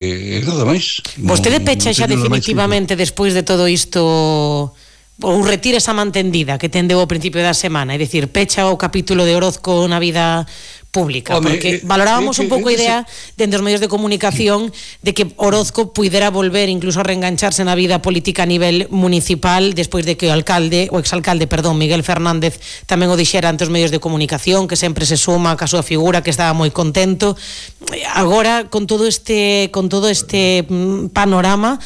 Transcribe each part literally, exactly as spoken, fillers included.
eh, nada máis. Vostede pecha xa definitivamente despois de todo isto ou retira esa mantendida que tendeu ao principio da semana, é dicir, pecha o capítulo de Orozco na vida pública, Home, porque eh, valorábamos eh, un pouco a idea dentro dos medios de comunicación de que Orozco puidera volver incluso a reengancharse na vida política a nivel municipal despois de que o alcalde, o exalcalde, perdón, Miguel Fernández tamén o dixera ante os medios de comunicación, que sempre se suma ca súa figura, que estaba moi contento. Agora, con todo este con todo este panorama,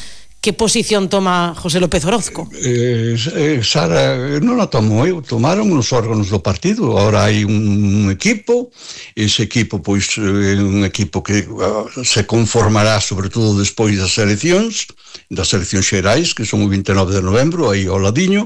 que posición toma José López Orozco? Eh, eh, Sara, non a tomo eu, tomaron os órganos do partido. Ahora hai un equipo, ese equipo pois é un equipo que uh, se conformará sobre todo despois das eleccións, das eleccións xerais, que son o vinte e nove de novembro, aí ao ladiño,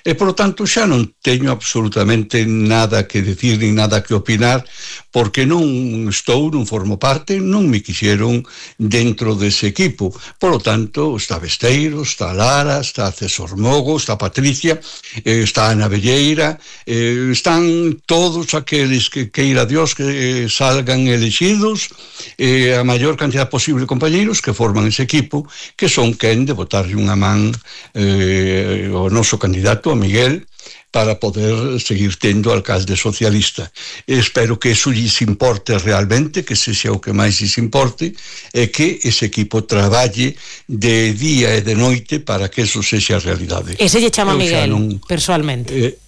e por lo tanto xa non teño absolutamente nada que decir ni nada que opinar, porque non estou, non formo parte, non me quixeron dentro dese equipo. Por lo tanto, está Besteiro, está Lara, está César Mogo, está Patricia, eh, está Ana Velleira, eh, están todos aqueles que queira Dios que eh, salgan elegidos, eh, a maior cantidad posible de compañeiros que forman ese equipo, que son quen de botarlle unha man eh, o noso candidato, a Miguel, para poder seguir tendo alcalde socialista. Espero que eso lles importe realmente, que se xa o que máis lles importe, e que ese equipo traballe de día e de noite para que eso sexa realidade. Ese lle chama eu Miguel, non, personalmente? Eh,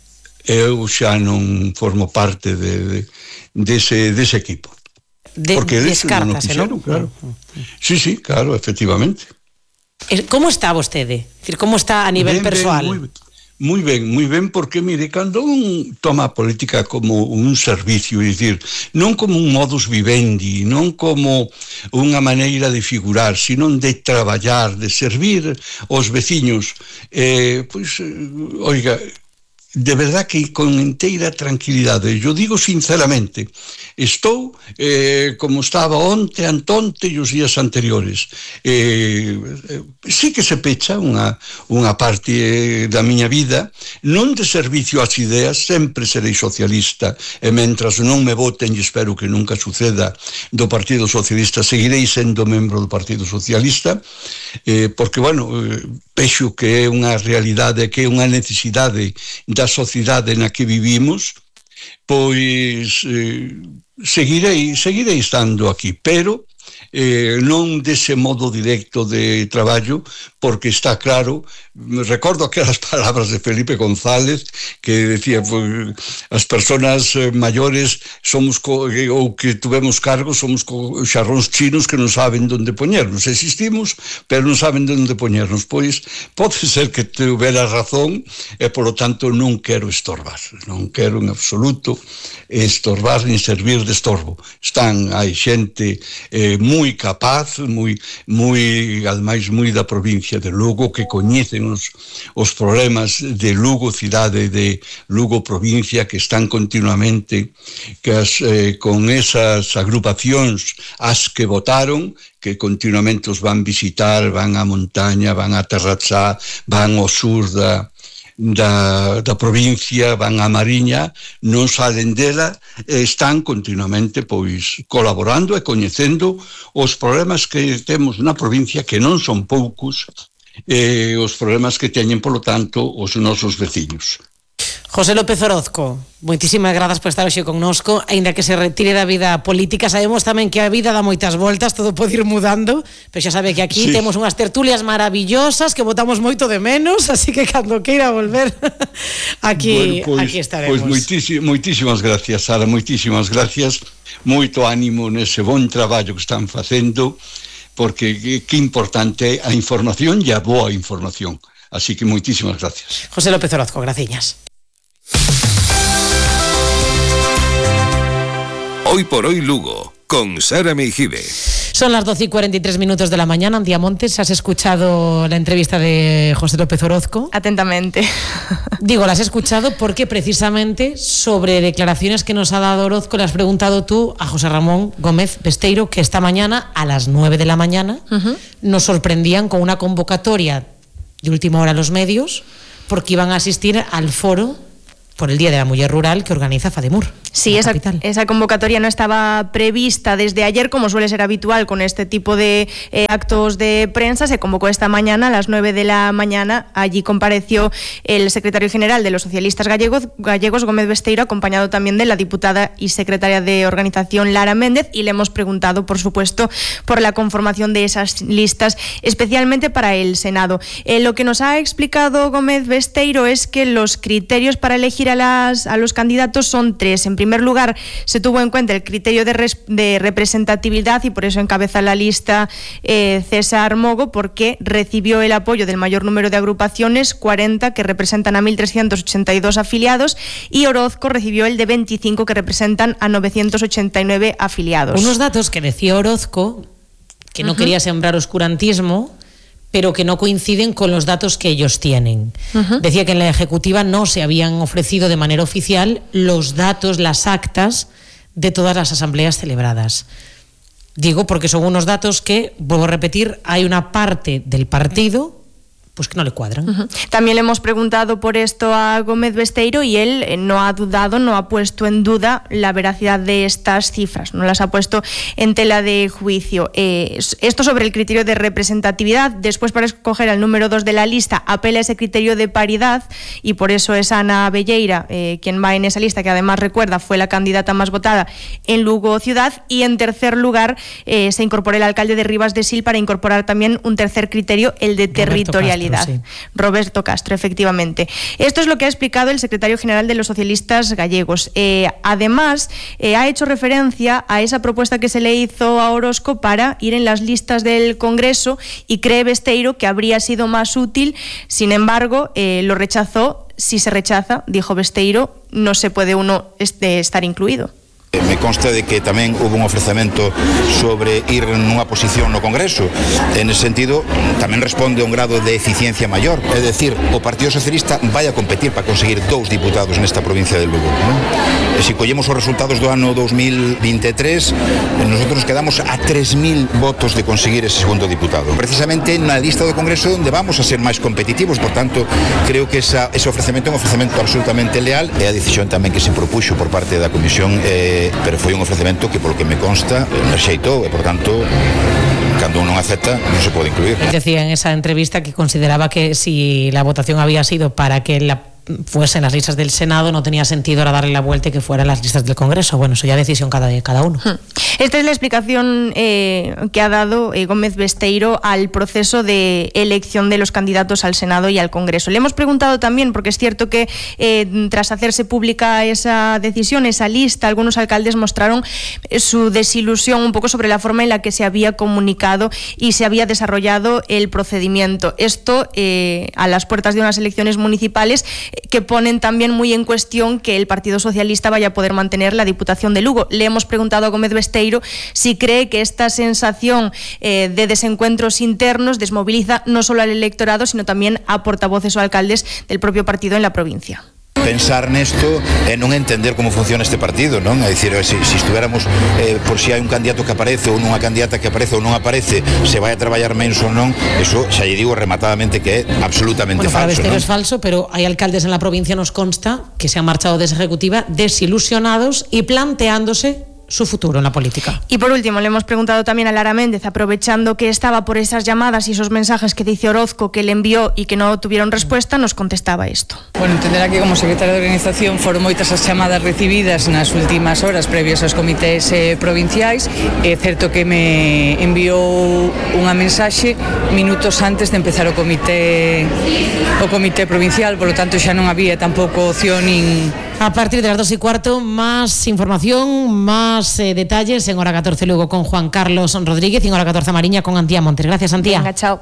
eu xa non formo parte de, de, dese, dese equipo. De, descártase, non? Claro. Sí, sí, claro, efectivamente. Como está vostede? Decir, como está a nivel ben, persoal? Ben, moi ben. Moi ben, moi ben, porque, mire, cando un toma a política como un servicio, é dicir, non como un modus vivendi, non como unha maneira de figurar, sino de traballar, de servir aos veciños, eh, pois, oiga, de verdad que con inteira tranquilidade, eu digo sinceramente, estou eh, como estaba onte, antonte e os días anteriores. Eh, eh, sí que se pecha unha, unha parte da miña vida, non de servicio ás ideas, sempre serei socialista, e mentras non me voten, e espero que nunca suceda, do Partido Socialista, seguirei sendo membro do Partido Socialista, eh, porque, bueno, eh, vexo que é unha realidade, que é unha necesidade da sociedade na que vivimos, pois eh, seguirei, seguirei estando aquí, pero eh, non dese modo directo de traballo, porque está claro, recordo aquelas palabras de Felipe González que decía, pues, as persoas maiores somos co, ou que tuvemos cargos somos co xarróns chinos que non saben onde poñernos, existimos pero non saben onde poñernos. Pois pode ser que tuvera razón, e polo tanto non quero estorbar, non quero en absoluto estorbar ni servir de estorbo. Están, hai xente eh, moi capaz, moi, moi, ademais, moi da provincia de Lugo, que coñecen os, os problemas de Lugo cidade, de Lugo provincia, que están continuamente que as, eh, con esas agrupacións as que votaron, que continuamente os van visitar, van á montaña, van a Terratzá, van ao sur da Da, da provincia, van a Mariña, non salen dela, están continuamente pois colaborando e coñecendo os problemas que temos na provincia, que non son poucos, e os problemas que teñen, polo tanto, os nosos veciños. José López Orozco, moitísimas grazas por estar hoxe connosco, aínda que se retire da vida política. Sabemos tamén que a vida dá moitas voltas, todo pode ir mudando, pero xa sabe que aquí sí. Temos unhas tertulias maravillosas que botamos moito de menos, así que cando queira volver aquí, bueno, pues, aquí estaremos. Pois pues moitísimas, moitísimas gracias, Sara, moitísimas gracias, moito ánimo nese bon traballo que están facendo, porque que, que importante a información e a boa información. Así que moitísimas gracias. José López Orozco, graciñas. Hoy por hoy Lugo, con Sara Meijibe. Son las doce y cuarenta y tres minutos de la mañana. Antía Montes, ¿has escuchado la entrevista de José López Orozco? Atentamente. Digo, la has escuchado porque precisamente sobre declaraciones que nos ha dado Orozco le has preguntado tú a José Ramón Gómez Besteiro, que esta mañana a las nueve de la mañana uh-huh. nos sorprendían con una convocatoria de última hora a los medios, porque iban a asistir al foro por el Día de la Mujer Rural que organiza FADEMUR. Sí, esa, esa convocatoria no estaba prevista desde ayer, como suele ser habitual con este tipo de eh, actos de prensa. Se convocó esta mañana a las nueve de la mañana. Allí compareció el secretario general de los socialistas gallegos, gallegos Gómez Besteiro, acompañado también de la diputada y secretaria de organización Lara Méndez, y le hemos preguntado, por supuesto, por la conformación de esas listas, especialmente para el Senado. Eh, lo que nos ha explicado Gómez Besteiro es que los criterios para elegir a, las, a los candidatos son tres. En primer lugar, se tuvo en cuenta el criterio de, res, de representatividad, y por eso encabeza la lista eh, César Mogo, porque recibió el apoyo del mayor número de agrupaciones, cuarenta, que representan a mil trescientos ochenta y dos afiliados, y Orozco recibió el de veinticinco, que representan a novecientos ochenta y nueve afiliados. Unos datos que decía Orozco, que no uh-huh. quería sembrar oscurantismo, pero que no coinciden con los datos que ellos tienen. Uh-huh. Decía que en la Ejecutiva no se habían ofrecido de manera oficial los datos, las actas de todas las asambleas celebradas. Digo porque son unos datos que, vuelvo a repetir, hay una parte del partido pues que no le cuadran. Uh-huh. También le hemos preguntado por esto a Gómez Besteiro y él eh, no ha dudado, no ha puesto en duda la veracidad de estas cifras, no las ha puesto en tela de juicio. Eh, esto sobre el criterio de representatividad. Después, para escoger al número dos de la lista, apela a ese criterio de paridad, y por eso es Ana Belleira eh, quien va en esa lista, que además, recuerda, fue la candidata más votada en Lugo Ciudad. Y en tercer lugar eh, se incorpora el alcalde de Rivas de Sil, para incorporar también un tercer criterio, el de territorialidad. Sí. Roberto Castro, efectivamente. Esto es lo que ha explicado el secretario general de los socialistas gallegos. Eh, además, eh, ha hecho referencia a esa propuesta que se le hizo a Orozco para ir en las listas del Congreso, y cree Besteiro que habría sido más útil. Sin embargo, eh, lo rechazó. Si se rechaza, dijo Besteiro, no se puede uno este, estar incluído. Me consta de que tamén hubo un ofrecemento sobre ir nunha posición no Congreso. En ese sentido, tamén responde a un grado de eficiencia maior. É dicir, o Partido Socialista vai a competir para conseguir dous diputados nesta provincia de Lugo, non? E se collemos os resultados do ano dos mil vinte e tres, nosotros nos quedamos a tres mil votos de conseguir ese segundo diputado. Precisamente na lista do Congreso onde vamos a ser máis competitivos. Por tanto, creo que esa, ese ofrecemento é un ofrecemento absolutamente leal, e a decisión tamén que se propuxo por parte da Comisión eh, pero foi un ofrecemento que, polo que me consta, rexeitou, e, por tanto, cando uno non acepta, non se pode incluir. Decía en esa entrevista que consideraba que si la votación había sido para que la fuesen las listas del Senado, no tenía sentido ahora darle la vuelta y que fueran las listas del Congreso. Bueno, eso ya decisión cada, de cada uno. Esta es la explicación eh, que ha dado eh, Gómez Besteiro al proceso de elección de los candidatos al Senado y al Congreso. Le hemos preguntado también, porque es cierto que eh, tras hacerse pública esa decisión, esa lista, algunos alcaldes mostraron eh, su desilusión un poco sobre la forma en la que se había comunicado y se había desarrollado el procedimiento. Esto eh, a las puertas de unas elecciones municipales que ponen también muy en cuestión que el Partido Socialista vaya a poder mantener la Diputación de Lugo. Le hemos preguntado a Gómez Besteiro si cree que esta sensación eh, de desencuentros internos desmoviliza no solo al electorado, sino también a portavoces o alcaldes del propio partido en la provincia. Pensar nesto e non entender como funciona este partido, non? É dicir, se, se estuviéramos eh, por si hai un candidato que aparece ou nunha candidata que aparece ou non aparece, se vai a traballar menos ou non, eso xa lle digo rematadamente que é absolutamente bueno, falso. Para Besteiro ¿no? es falso, pero hay alcaldes en la provincia, nos consta, que se han marchado de esa ejecutiva desilusionados y planteándose su futuro en la política. Y por último, le hemos preguntado también a Lara Méndez, aprovechando que estaba por esas llamadas y esos mensajes que dice Orozco que le envió y que no tuvieron respuesta, nos contestaba esto. Bueno, entenderá que como secretaria de organización foron moitas as chamadas recibidas nas últimas horas previas aos comités eh, provinciais. É certo que me enviou unha mensaxe minutos antes de empezar o comité o comité provincial, por lo tanto xa non había tampouco opción nin... A partir de las dos y cuarto, más información, más eh, detalles en Hora catorce Lugo con Juan Carlos Rodríguez y en Hora catorce Mariña con Antía Montes. Gracias, Antía. Venga, chao.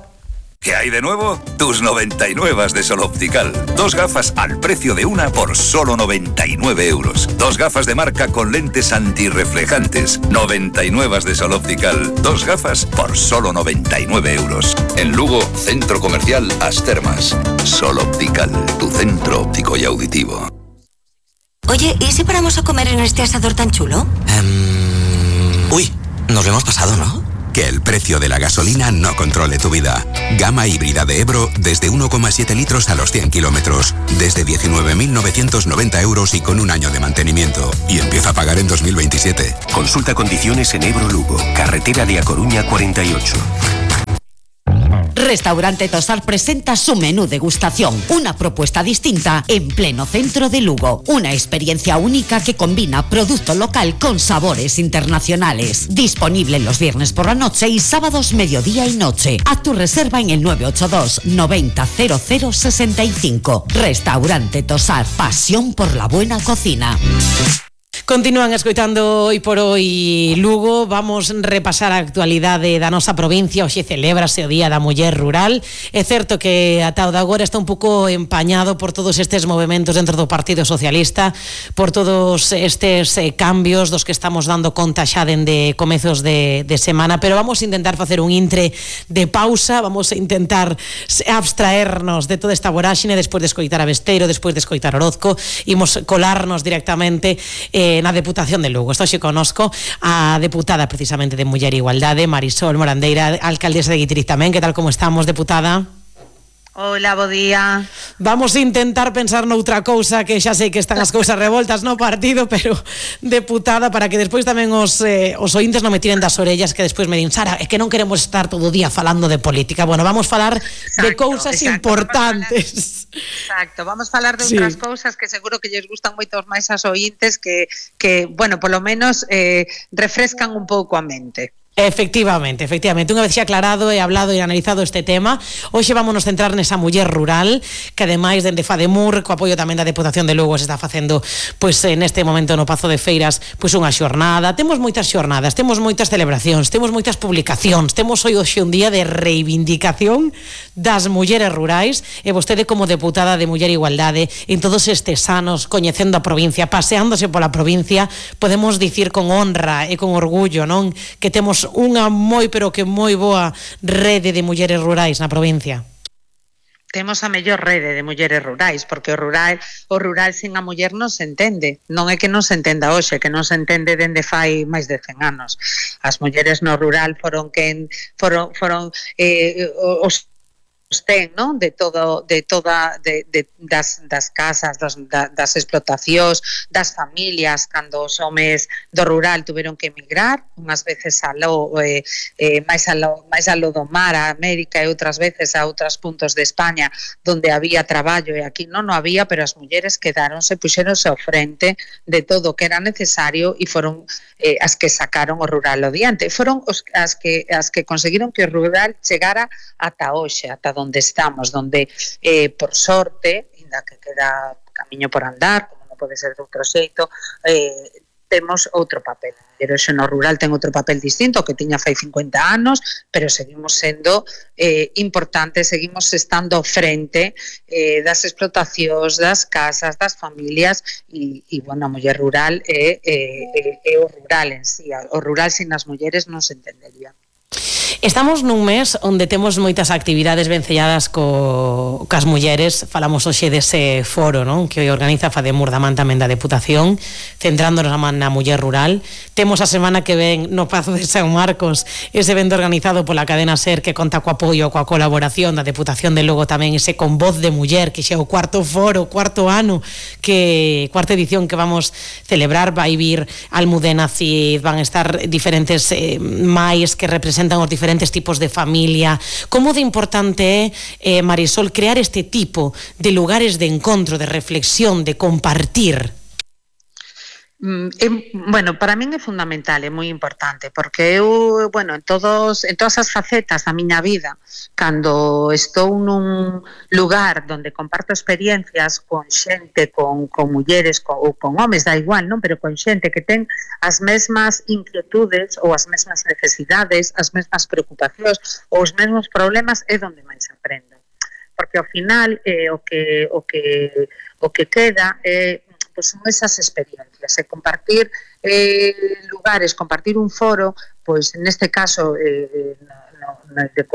¿Qué hay de nuevo? Tus noventa y nueve de Sol Optical. Dos gafas al precio de una por solo noventa y nueve euros. Dos gafas de marca con lentes antirreflejantes. noventa y nueve de Sol Optical. Dos gafas por solo noventa y nueve euros. En Lugo, Centro Comercial As Termas. Sol Optical, tu centro óptico y auditivo. Oye, ¿y si paramos a comer en este asador tan chulo? Um, uy, nos lo hemos pasado, ¿no? Que el precio de la gasolina no controle tu vida. Gama híbrida de Ebro desde uno coma siete litros a los cien kilómetros. Desde diecinueve mil novecientos noventa euros y con un año de mantenimiento. Y empieza a pagar en dos mil veintisiete. Consulta condiciones en Ebro Lugo, carretera de A Coruña cuarenta y ocho. Restaurante Tosar presenta su menú degustación, una propuesta distinta en pleno centro de Lugo. Una experiencia única que combina producto local con sabores internacionales. Disponible los viernes por la noche y sábados mediodía y noche. Haz tu reserva en el nueve ocho dos noventa cero cero sesenta y cinco. Restaurante Tosar, pasión por la buena cocina. Continúan escoitando hoy por hoy Lugo. Vamos repasar a actualidade da nosa provincia. Hoxe celébrase o Día da Muller Rural. É certo que ata o de agora está un pouco empañado por todos estes movimentos dentro do Partido Socialista, por todos estes eh, cambios dos que estamos dando conta xa dende comezos de, de semana, pero vamos a intentar facer un intre de pausa, vamos a intentar abstraernos de toda esta voráxine despois de escoitar a Besteiro, despois de escoitar Orozco, imos colarnos directamente eh, na Deputación de Lugo. Estou xe conosco a deputada precisamente de Muller e Igualdade, Marisol Morandeira, alcaldesa de Guitriz tamén. Que tal, como estamos, deputada? Hola, bo día. Vamos a intentar pensar noutra cousa, que xa sei que están as cousas revoltas no partido, pero deputada, para que despois tamén os, eh, os ointes non me tiren das orellas, que despois me din, Sara, é que non queremos estar todo o día falando de política. Bueno, vamos falar exacto, de cousas exacto, importantes. Vamos falar, exacto, vamos falar de sí. outras cousas que seguro que lles gustan moitos máis as ointes, que, que bueno, polo menos eh, refrescan un pouco a mente. Efectivamente, efectivamente, unha vez xa aclarado e hablado e analizado este tema, hoxe vámonos centrar nesa muller rural, que ademais dende Fademur, co apoio tamén da Deputación de Lugo, se está facendo pois neste momento no Pazo de Feiras pois unha xornada. Temos moitas xornadas, temos moitas celebracións, temos moitas publicacións, temos hoxe un día de reivindicación das mulleres rurais, e vostede como deputada de Muller e Igualdade, en todos estes anos coñecendo a provincia, paseándose pola provincia, podemos dicir con honra e con orgullo, non, que temos unha moi, pero que moi boa rede de mulleres rurais na provincia. Temos a mellor rede de mulleres rurais, porque o rural o rural sin a muller non se entende. Non é que non se entenda hoxe, que non se entende dende fai máis de cen anos. As mulleres no rural foron quen foron foron eh, os ten, non? De todo, de toda de, de, das, das casas, das, das explotacións, das familias, cando os homes do rural tuveron que emigrar, unhas veces a lo, eh, eh, máis, a lo, máis a lo do mar, a América, e outras veces a outros puntos de España donde había traballo, e aquí non, non había, pero as mulleres quedaronse, puxeronse ao frente de todo o que era necesario, e foron eh, as que sacaron o rural adiante, foron os, as, que, as que conseguiron que o rural chegara ata hoxe, ata donde estamos, donde eh, por sorte, ainda que queda camiño por andar, como non pode ser de outro xeito, eh, temos outro papel. Pero xo no rural ten outro papel distinto que tiña fai cincuenta anos, pero seguimos sendo eh, importantes, seguimos estando frente eh, das explotacións, das casas, das familias, e, e bueno, a muller rural é, é, é o rural en sí. O rural sin as mulleres non se entendería. Estamos nun mes onde temos moitas actividades vencelladas co, cas mulleres. Falamos hoxe dese foro, non, que organiza Fademur da man tamén da Deputación, centrándonos a man na muller rural. Temos a semana que ven no Pazo de San Marcos ese evento organizado pola cadena SER, que conta co apoio, coa colaboración da Deputación de Lugo tamén, ese Con Voz de Muller, que xa é o cuarto foro, cuarto ano, que cuarta edición que vamos celebrar. Vai vir Almudena Cid, van estar diferentes eh, máis que representan os diferentes tipos de familia. Como de importante é, eh, Marisol, crear este tipo de lugares de encontro, de reflexión, de compartir? Mm, é, bueno, para min é fundamental, é moi importante, porque eu, bueno, en todos en todas as facetas da miña vida, cando estou nun lugar onde comparto experiencias con xente, con, con mulleres con, ou con homes, dá igual, non? Pero con xente que ten as mesmas inquietudes ou as mesmas necesidades, as mesmas preocupacións ou os mesmos problemas, é onde máis aprendo, porque ao final eh, o que o que o que queda é eh, pues son esas experiencias, e compartir eh, lugares, compartir un foro, pois pues, neste caso eh, no, no, de,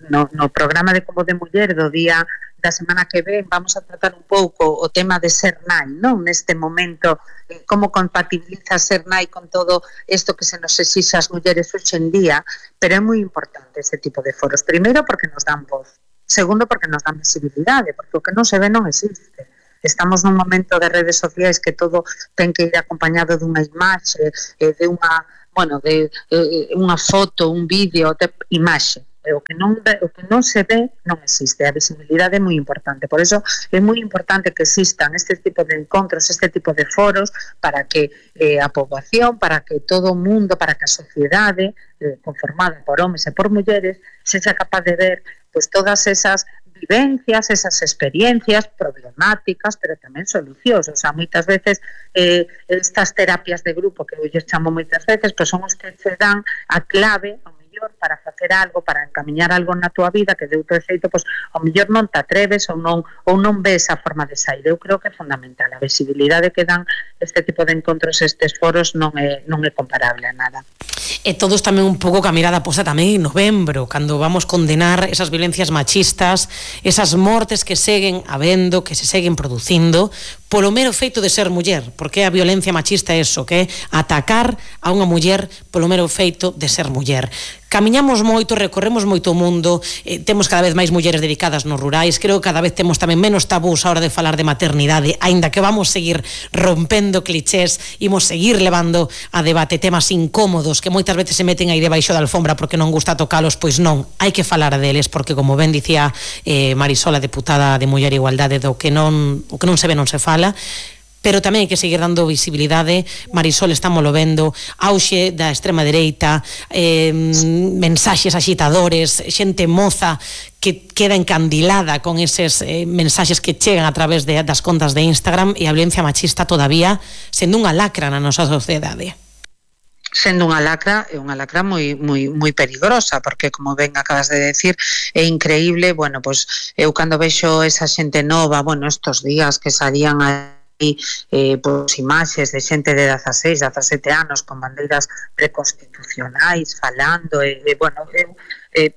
no, no programa de Como de Muller do Día da semana que ven vamos a tratar un pouco o tema de ser nai, non? Neste momento, eh, como compatibiliza ser nai con todo isto que se nos exixe as mulleres hoxe en día, pero é moi importante ese tipo de foros. Primeiro, porque nos dan voz. Segundo, porque nos dan visibilidade, porque o que non se ve non existe. Estamos nun momento de redes sociais que todo ten que ir acompañado dunha imaxe, eh, de unha, bueno, de eh, unha foto, un vídeo, de imaxe. O que, non ve, o que non se ve non existe, a visibilidade é moi importante, por eso é moi importante que existan este tipo de encontros, este tipo de foros para que eh, a poboación, para que todo o mundo, para que a sociedade eh, conformada por homes e por mulleres sexa capaz de ver pues, todas esas vivencias, esas experiencias problemáticas, pero tamén solucións. O sea, moitas veces eh, estas terapias de grupo que eu lles chamo moitas veces, pues son os que se dan a clave ao mellor para facer algo, para encamiñar algo na túa vida que de outro xeito, pues, ao mellor non te atreves ou non ou non ves a forma de sair. Eu creo que é fundamental. A visibilidade que dan este tipo de encontros, estes foros, non é, non é comparable a nada. E todos tamén un pouco ca mirada posta tamén en novembro, cando vamos condenar esas violencias machistas, esas mortes que seguen habendo, que se seguen producindo, polo mero feito de ser muller, porque a violencia machista é eso, que é atacar a unha muller polo mero feito de ser muller. Camiñamos moito, recorremos moito o mundo, eh, temos cada vez máis mulleres dedicadas nos rurais, creo que cada vez temos tamén menos tabús a hora de falar de maternidade, aínda que vamos seguir rompendo clichés, imos seguir levando a debate temas incómodos que moitas veces se meten aí debaixo da alfombra porque non gusta tocalos, pois non, hai que falar deles, porque como ben dicía eh, Marisol, a deputada de Muller e Igualdade, do que non, o que non se ve non se fala, pero tamén hai que seguir dando visibilidade. Marisol, estámoslo vendo, auxe da extrema dereita, eh, mensaxes axitadores, xente moza que queda encandilada con eses eh, mensaxes que chegan a través de, das contas de Instagram, e a violencia machista todavía sendo unha lacra na nosa sociedade. Sendo unha lacra, é unha lacra moi moi moi perigosa, porque como ben acabas de decir, é increíble, bueno, pois eu cando vexo esa xente nova, bueno, estos días que salían a Eh, pois imaxes de xente de dezaseis, dezasete anos con bandeiras preconstitucionais falando e, eh, bueno, eh, eh,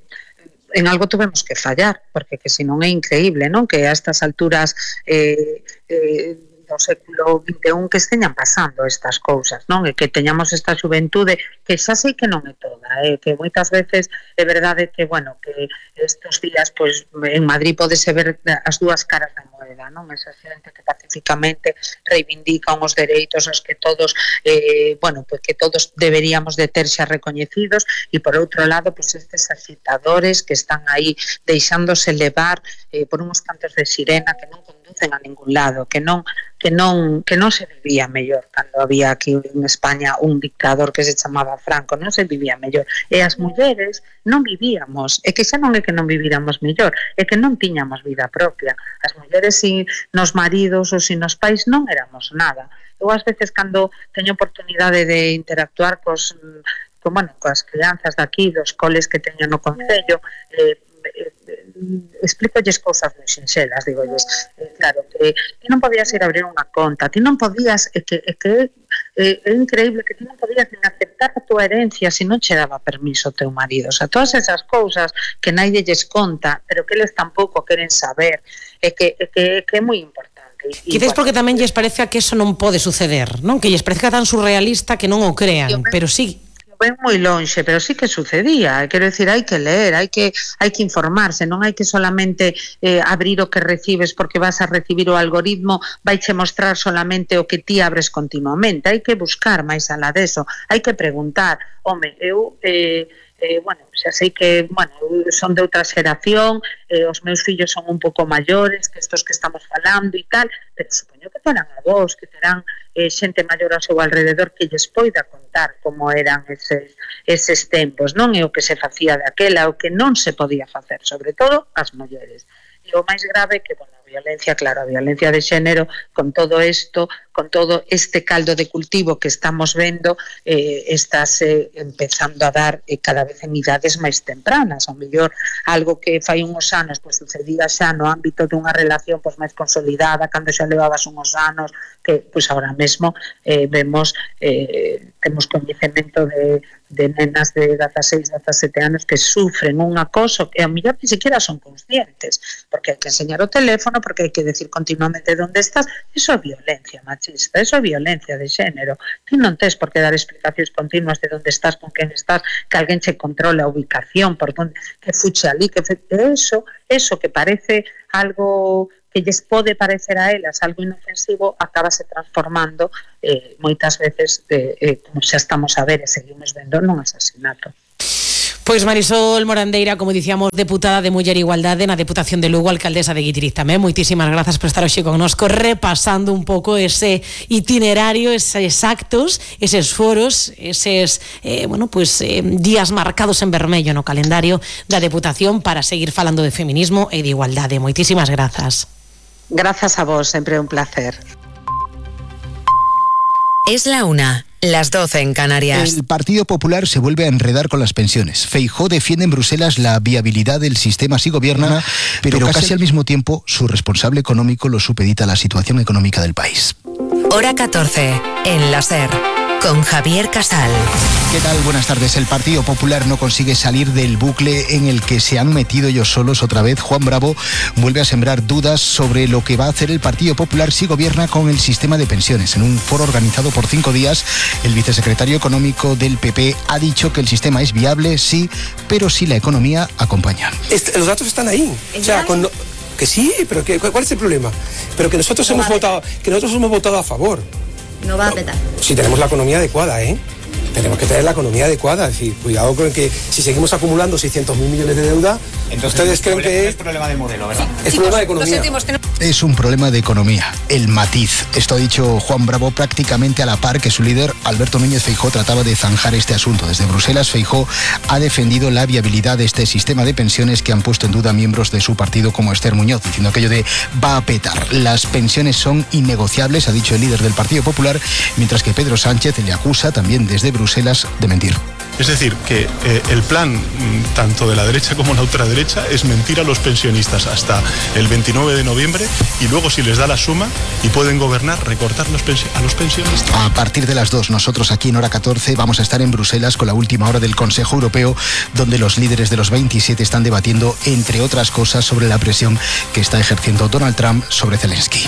en algo tuvemos que fallar, porque que se non é increíble, non? Que a estas alturas eh, eh, do século vinte e un que esteñan pasando estas cousas, non? E que teñamos esta xuventude que xa sei que non é toda, eh? Que moitas veces é verdade que, bueno, que estes días, pois, en Madrid podese ver as dúas caras da moeda, non? Esa xente que pacíficamente reivindica uns dereitos aos que todos, eh, bueno, pois que todos deberíamos de ter xa recoñecidos, e por outro lado, pois estes agitadores que están aí deixándose levar eh, por uns cantos de sirena que non conducen a ningún lado, que non que non que non se vivía mellor cando había aquí en España un dictador que se chamaba Franco, non se vivía mellor, e as mulleres non vivíamos, e que xa non é que non viviramos mellor, é que non tiñamos vida propia. As mulleres sin nos maridos ou sin nos pais non éramos nada. Eu ás veces cando teño oportunidade de interactuar cos, con, bueno, coas crianzas daqui, dos coles que teño no concello, eh, eh, explícolles cousas moi sinxelas, digolles, eh, claro, que ti non podías ir a abrir unha conta, ti non podías, é que, é que é, é increíble que ti non podías nin aceptar a tua herencia se non che daba permiso o teu marido. O sea, todas esas cousas que naide lles conta, pero que eles tampouco queren saber, é que é, que, que é moi importante. Quizás porque tamén lles parece que eso non pode suceder, non? Que lles parece tan surrealista que non o crean, pero sí. Ben moi lonxe, pero sí que sucedía. Quero decir, hai que ler, hai que hai que informarse, non hai que solamente eh, abrir o que recibes porque vas a recibir o algoritmo, vaiche mostrar solamente o que ti abres continuamente. Hai que buscar máis alá deso, hai que preguntar. Home, eu eh, eh, bueno, xa sei que, bueno, son de outra xeración, eh, os meus fillos son un pouco maiores que estos que estamos falando e tal, pero supoño que terán a vos, que terán eh, xente maior ao seu alrededor que lles poida contar como eran eses, eses tempos, non? E o que se facía daquela, o que non se podía facer, sobre todo as mulleres. E o máis grave que, bueno, a violencia, claro, a violencia de xénero, con todo isto, con todo este caldo de cultivo que estamos vendo, eh, estás eh, empezando a dar eh, cada vez en idades máis tempranas. Ao mellor algo que fai uns anos pues, sucedía xa no ámbito dunha relación pues, máis consolidada, cando xa levabas uns anos, que pues, ahora mesmo eh, vemos, eh, temos coñecemento de de nenas de dieciséis, diecisiete anos que sufren un acoso que a mellor ni siquiera son conscientes, porque hai que enseñar o teléfono, porque hai que decir continuamente onde estás. Eso é violencia machista, eso é violencia de xénero. Ti non tes por que dar explicacións continuas de onde estás, con quen estás, que alguén che controle a ubicación, por donde, que fuche ali, que fe... eso, eso que parece algo que lles pode parecer a elas algo inofensivo, acabase transformando eh, moitas veces, eh, eh, como xa estamos a ver e seguimos vendo, nun asasinato. Pois Marisol Morandeira, como dicíamos, deputada de Muller e Igualdade na Deputación de Lugo, alcaldesa de Guitiriz tamén. Moitísimas grazas por estar hoxe connosco repasando un pouco ese itinerario, eses actos, eses foros, eses eh, bueno, pues, eh, días marcados en vermello no calendario da Deputación para seguir falando de feminismo e de igualdade. Moitísimas grazas. Gracias a vos, siempre un placer. Es la una, las doce en Canarias. El Partido Popular se vuelve a enredar con las pensiones. Feijóo defiende en Bruselas la viabilidad del sistema si gobierna, pero, pero casi, casi al mismo tiempo su responsable económico lo supedita a la situación económica del país. Hora catorce, en la SER, con Javier Casal. ¿Qué tal? Buenas tardes. El Partido Popular no consigue salir del bucle en el que se han metido ellos solos otra vez. Juan Bravo vuelve a sembrar dudas sobre lo que va a hacer el Partido Popular si gobierna con el sistema de pensiones. En un foro organizado por cinco días, el vicesecretario económico del P P ha dicho que el sistema es viable, sí, pero si la economía acompaña. Este, los datos están ahí. O sea, con, que sí, pero que, ¿cuál es el problema? Pero que nosotros hemos votado, que nosotros hemos votado a favor. No va a petar. Si tenemos la economía adecuada, ¿eh? Tenemos que tener la economía adecuada. Es decir, cuidado con que si seguimos acumulando seiscientos mil millones de deuda, entonces ustedes creen que es problema de modelo, ¿verdad? Es problema de economía. Es un problema de economía, el matiz. Esto ha dicho Juan Bravo prácticamente a la par que su líder, Alberto Núñez Feijóo, trataba de zanjar este asunto. Desde Bruselas, Feijóo ha defendido la viabilidad de este sistema de pensiones que han puesto en duda miembros de su partido como Esther Muñoz, diciendo aquello de va a petar. Las pensiones son innegociables, ha dicho el líder del Partido Popular, mientras que Pedro Sánchez le acusa también desde Bruselas de mentir. Es decir, que eh, el plan tanto de la derecha como la ultraderecha es mentir a los pensionistas hasta el veintinueve de noviembre y luego, si les da la suma y pueden gobernar, recortar los a los pensionistas. A partir de las dos, nosotros aquí en Hora catorce vamos a estar en Bruselas con la última hora del Consejo Europeo, donde los líderes de los veintisiete están debatiendo, entre otras cosas, sobre la presión que está ejerciendo Donald Trump sobre Zelensky.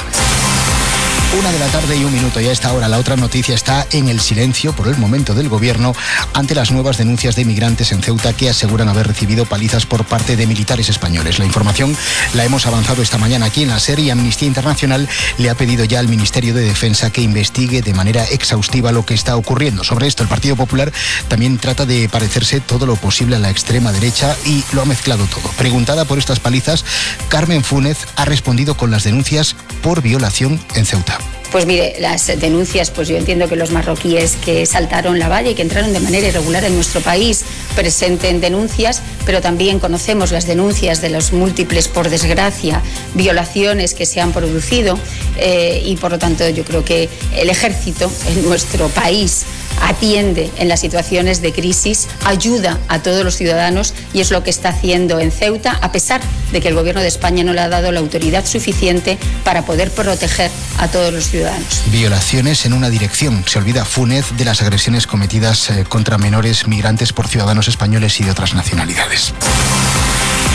Una de la tarde y un minuto, y a esta hora la otra noticia está en el silencio por el momento del gobierno ante las nuevas denuncias de migrantes en Ceuta que aseguran haber recibido palizas por parte de militares españoles. La información la hemos avanzado esta mañana aquí en la SER y Amnistía Internacional le ha pedido ya al Ministerio de Defensa que investigue de manera exhaustiva lo que está ocurriendo. Sobre esto, el Partido Popular también trata de parecerse todo lo posible a la extrema derecha y lo ha mezclado todo. Preguntada por estas palizas, Carmen Fúnez ha respondido con las denuncias por violación en Ceuta. Pues mire, las denuncias, pues yo entiendo que los marroquíes que saltaron la valla y que entraron de manera irregular en nuestro país presenten denuncias, pero también conocemos las denuncias de los múltiples, por desgracia, violaciones que se han producido eh, y por lo tanto yo creo que el ejército en nuestro país atiende en las situaciones de crisis, ayuda a todos los ciudadanos y es lo que está haciendo en Ceuta, a pesar de que el Gobierno de España no le ha dado la autoridad suficiente para poder proteger a todos los ciudadanos. Violaciones en una dirección. Se olvida Fúnez de las agresiones cometidas eh, contra menores migrantes por ciudadanos españoles y de otras nacionalidades.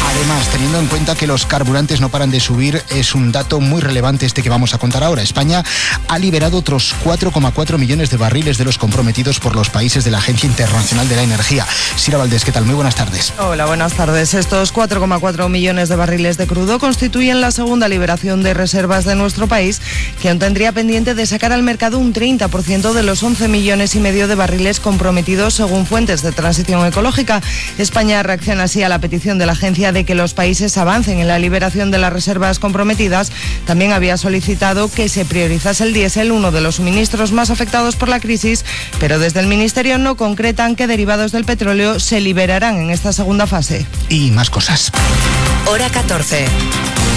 Además, teniendo en cuenta que los carburantes no paran de subir, es un dato muy relevante este que vamos a contar ahora. España ha liberado otros cuatro coma cuatro millones de barriles de los comprometidos por los países de la Agencia Internacional de la Energía. Sira Valdés, ¿qué tal? Muy buenas tardes. Hola, buenas tardes. Estos cuatro coma cuatro millones de barriles de crudo constituyen la segunda liberación de reservas de nuestro país, que aún tendría pendiente de sacar al mercado un treinta por ciento de los once millones y medio de barriles comprometidos según fuentes de transición ecológica. España reacciona así a la petición de la agencia de que los países avancen en la liberación de las reservas comprometidas. También había solicitado que se priorizase el diésel, uno de los suministros más afectados por la crisis, pero desde el Ministerio no concretan qué derivados del petróleo se liberarán en esta segunda fase. Y más cosas. Hora catorce.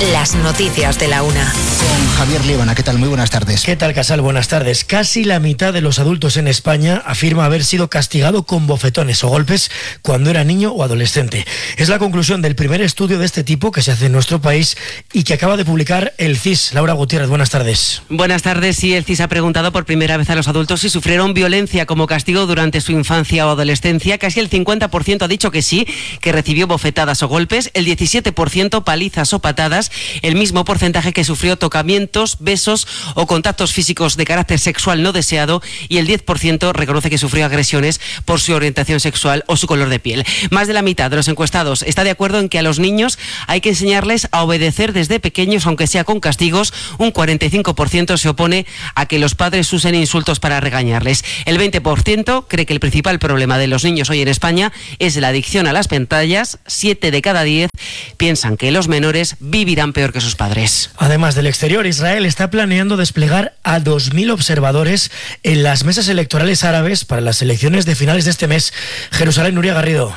Las noticias de la una. Con Javier Liébana, ¿qué tal? Muy buenas tardes. ¿Qué tal, Casal? Buenas tardes. Casi la mitad de los adultos en España afirma haber sido castigado con bofetones o golpes cuando era niño o adolescente. Es la conclusión del primer estudio de este tipo que se hace en nuestro país y que acaba de publicar el C I S. Laura Gutiérrez, buenas tardes. Buenas tardes. Sí, el C I S ha preguntado por primera vez a los adultos si sufrieron violencia como castigo durante su infancia o adolescencia. Casi el cincuenta por ciento ha dicho que sí, que recibió bofetadas o golpes, el diecisiete por ciento palizas o patadas, el mismo porcentaje que sufrió tocamientos, besos o contactos físicos de carácter sexual no deseado, y el diez por ciento reconoce que sufrió agresiones por su orientación sexual o su color de piel. Más de la mitad de los encuestados está de acuerdo en que a los niños hay que enseñarles a obedecer desde pequeños, aunque sea con castigos. Un cuarenta y cinco por ciento se opone a que los padres usen insultos para regañarles. El veinte por ciento cree que el principal problema de los niños hoy en España es la adicción a las pantallas. Siete de cada diez piensan que los menores vivirán peor que sus padres. Además del exterior, Israel está planeando desplegar a dos mil observadores en las mesas electorales árabes para las elecciones de finales de este mes. Jerusalén, Nuria Garrido.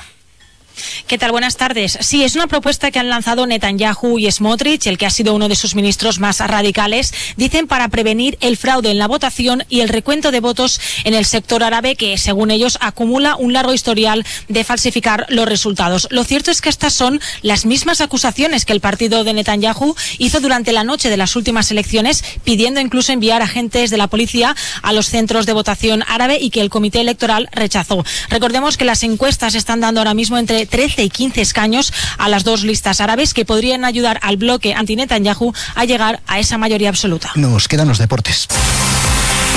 ¿Qué tal? Buenas tardes. Sí, es una propuesta que han lanzado Netanyahu y Smotrich, el que ha sido uno de sus ministros más radicales, dicen para prevenir el fraude en la votación y el recuento de votos en el sector árabe, que según ellos acumula un largo historial de falsificar los resultados. Lo cierto es que estas son las mismas acusaciones que el partido de Netanyahu hizo durante la noche de las últimas elecciones, pidiendo incluso enviar agentes de la policía a los centros de votación árabe, y que el comité electoral rechazó. Recordemos que las encuestas están dando ahora mismo entre trece y quince escaños a las dos listas árabes, que podrían ayudar al bloque anti-Netanyahu a llegar a esa mayoría absoluta. Nos quedan los deportes.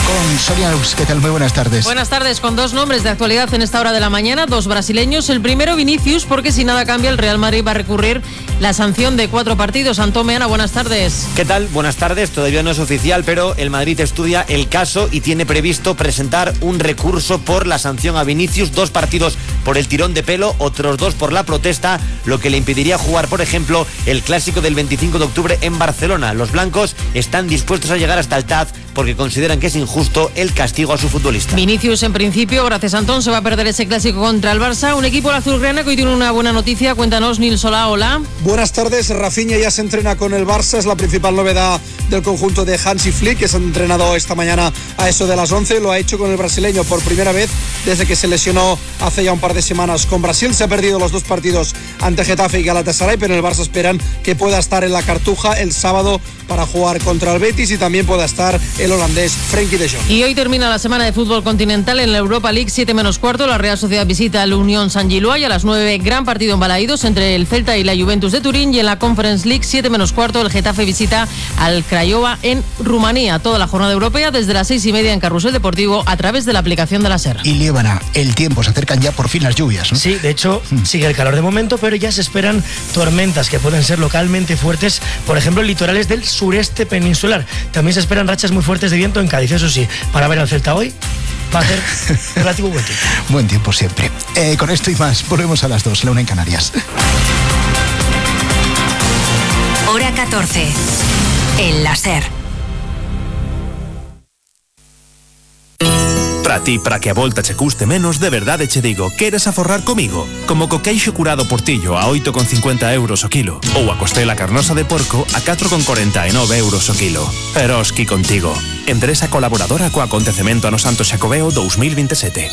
Con Sonia Lux, ¿qué tal? Muy buenas tardes. Buenas tardes, con dos nombres de actualidad en esta hora de la mañana, dos brasileños. El primero, Vinicius, porque si nada cambia, el Real Madrid va a recurrir la sanción de cuatro partidos. Antón Meana, buenas tardes. ¿Qué tal? Buenas tardes. Todavía no es oficial, pero el Madrid estudia el caso y tiene previsto presentar un recurso por la sanción a Vinicius. Dos partidos por el tirón de pelo, otros dos por la protesta, lo que le impediría jugar, por ejemplo, el clásico del veinticinco de octubre en Barcelona. Los blancos están dispuestos a llegar hasta el T A Z porque consideran que es injusto el castigo a su futbolista. Vinicius, en principio, gracias a Antón, se va a perder ese clásico contra el Barça. Un equipo azulgrana que hoy tiene una buena noticia. Cuéntanos, Nil Solá, hola. Buenas tardes. Rafinha ya se entrena con el Barça, es la principal novedad del conjunto de Hansi Flick, que se ha entrenado esta mañana a eso de las once. Lo ha hecho con el brasileño por primera vez desde que se lesionó hace ya un par de semanas con Brasil. Se ha perdido los dos partidos ante Getafe y Galatasaray, pero en el Barça esperan que pueda estar en la Cartuja el sábado para jugar contra el Betis, y también pueda estar el holandés Frenkie de Jong. Y hoy termina la semana de fútbol continental en la Europa League, siete menos cuarto. La Real Sociedad visita al Unión San Gilois, y a las nueve, gran partido en Balaídos entre el Celta y la Juventus de Turín. Y en la Conference League, siete menos cuarto, el Getafe visita al Craiova en Rumanía. Toda la jornada europea desde las seis y media en Carrusel Deportivo a través de la aplicación de la SER. Y Liébana, el tiempo, se acercan ya por fin las lluvias, ¿no? Sí, de hecho, sigue el calor de momento, pero ya se esperan tormentas que pueden ser localmente fuertes, por ejemplo, en litorales del sureste peninsular. También se esperan rachas muy fuertes de viento en Cádiz. Eso sí, para ver al Celta hoy va a ser relativo buen tiempo. Buen tiempo siempre. Eh, con esto y más, volvemos a las dos, la una en Canarias. Hora catorce, en la SER. Para ti, para que a volta che custe menos, de verdade che digo, queres aforrar comigo? Como co queixo curado portillo a oito con cincuenta euros o kilo, ou a costela carnosa de porco a catro con corenta e nove euros o kilo. Eroski contigo. Empresa colaboradora co acontecemento ano Santo Xacobeo dos mil veintisiete.